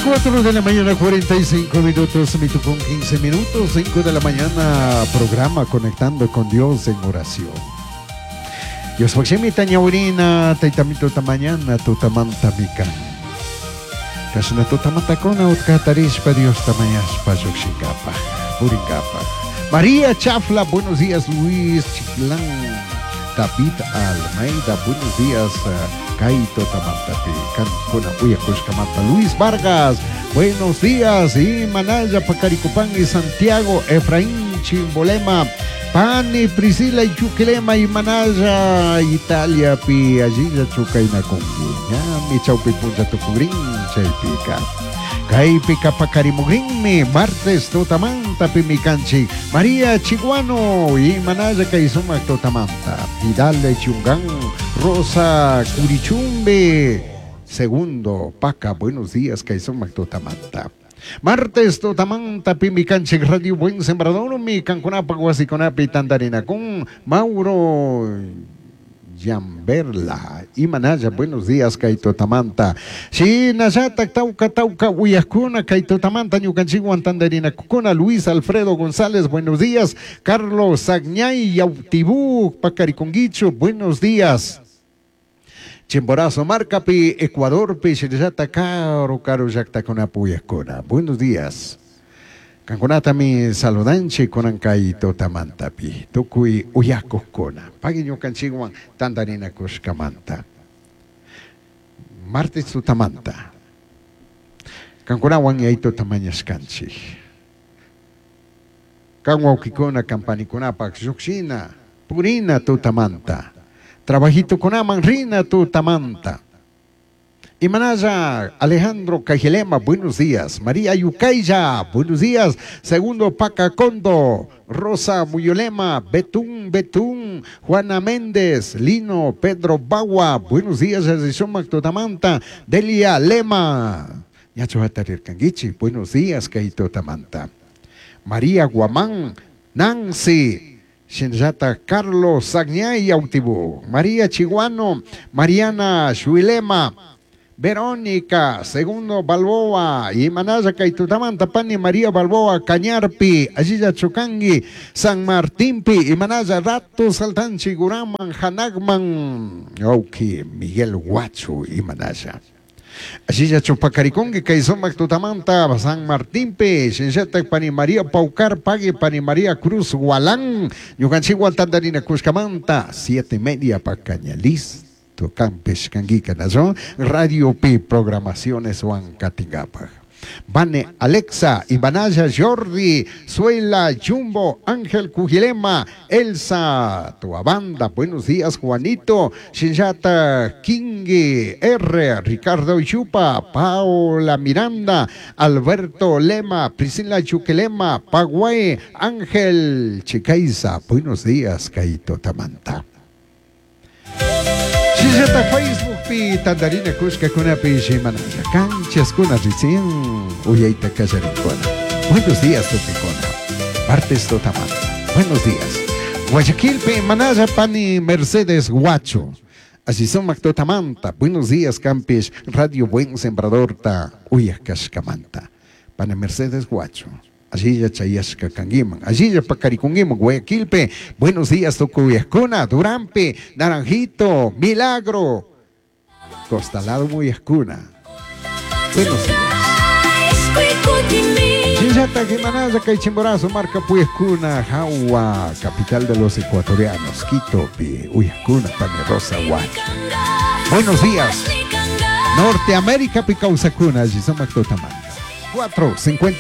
4 de la mañana, 45 minutos, con 15 minutos, 5 de la mañana, programa Conectando con Dios en oración. Dios pakshimita ñawirina, taytamito mañana, tutamanta mikan. Kashna tutamantakuna utkatarishpa Dios tamañashpa llukshinkapaj, purinkapaj. María Chafla, buenos días, Luis Chiclán. David Almeida, buenos días, Kaito Tamantapi, Kankuna Uyakushkamanta, Luis Vargas, buenos días, y Manaya Pacaricupán y Santiago, Efraín Chimbolema, Pani, Priscila y Chuquilema y Manaya, Italia, pi, allí Chucainakungi, ñami chaupi puncha tucugrin, chaypika. Kaypika pakarimugrinmi, martes tutamanta pimikanchik, María Chiguano y Manaya Kaysumak tutamanta, Vidal de Chungán, Rosa Curichumbe, segundo, Paca, buenos días, Kaysumak tutamanta. Martes tutamanta pimikanchik Radio Buen Sembrador, mi kankunapa wasikunapi tantarinakun, Mauro Yamberla y Manaya, buenos días, Kaito Tamanta. Shinallata, Tauca, Tauca, Uyakuna, Kaito Tamanta, Ñukanchiguan, Tandarina, Cucuna, Luis Alfredo González, buenos días. Carlos Sagñay, Yautibú, Pacariconguicho, buenos días. Chimborazo, Marcapi, Ecuador, Pi, Shinallata, Caro, Caro, Yactacuna, Puyacuna. Buenos días. Kankunatami saludanchi kunan kay tutamantapi tukuy uyakuqkuna pagui ñukanchikwan tantarinakushkamanta martes tutamanta kankunawan yaytuta mañashkanchik kan wawkikuna kampanikunapaq lluqshina purina tutamanta trabajitukunaman rina tutamanta. Imanaya Alejandro Cajelema, buenos días. María Yucaya, buenos días. Segundo Pacacondo, Rosa Muyolema, Betún Betún, Juana Méndez, Lino Pedro Bagua, buenos días. Tutamanta, Delia Lema. Yacho Canguichi, buenos días, Kaito Tamanta. María Guamán, Nancy. Shinjata Carlos Sagñay Autibú, María Chiguano, Mariana Shuilema, Verónica, Segundo Balboa, y Manaya Kaitutamanta, Pani María Balboa, Cañarpi, Allilla Chocangui, San Martinpi, y Manaya Rato, Saltanchi, Guraman, Hanagman, Auki, Miguel Guacho, y Manaya. Allilla Chupacaricongue, Kaisomac Tutamanta, San Martinpi, Shinshata, Pani María Paucar, Pague, Pani María Cruz, Gualán, Yucanchigual, Tandarina, Cuscamanta, 7:30 pa Cañalis. Campes Canguica Nazón, Radio P, programaciones Juan Catingapa. Vane Alexa, Ibanaya Jordi, Suela Jumbo, Ángel Cujilema, Elsa, tu banda, buenos días Juanito, Shinjata Kingi, R, Ricardo Chupa, Paola Miranda, Alberto Lema, Priscila Chuquelema, Paguay, Ángel Chicaiza, buenos días Kaito Tamanta. Shinjata Facebook pi tandarina kushka kunapi shimanaya canchas kuna recién uyayta kallarikuna. Buenos días tukikuna. Martes totamanta. Buenos días. Guayaquil pi manaya pani Mercedes Guacho. Así son Mactotamanta. Buenos días Campes Radio Buen Sembrador ta uyakashkamanta. Pani Mercedes Guacho. Allí ya chayashka kanguiman, allí ya pacarikunguiman, Guayaquilpe, buenos días tukuyascuna, Durampe, Naranjito, Milagro, Costalado Muyascuna. Buenos días. Chinchata, Jimanaya, Caichimborazo, Marca Puyascuna, Jagua, capital de los ecuatorianos, Quito, Pi, Uyascuna, Pane Rosa, Guacho. Buenos días. Norteamérica, Picausacuna, Gisomac Totamanta. 4:50.